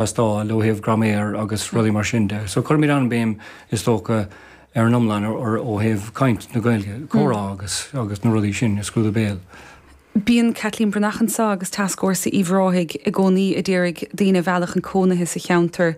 Teastáil ó thaobh graiméir agus rudaí mar sin de. So cuirimid an-bhéim, is dócha, ar an iomlán ó thaobh caint na Gaeilge, comhrá agus agus na rudaí sin i scrúdú béil. Bíonn Caitlín Breathnach anseo agus Tascfhórsa Uíbh Ráthaigh i gcónaí a d'iarraidh daoine a mhealladh chun cónaithe sa cheantar.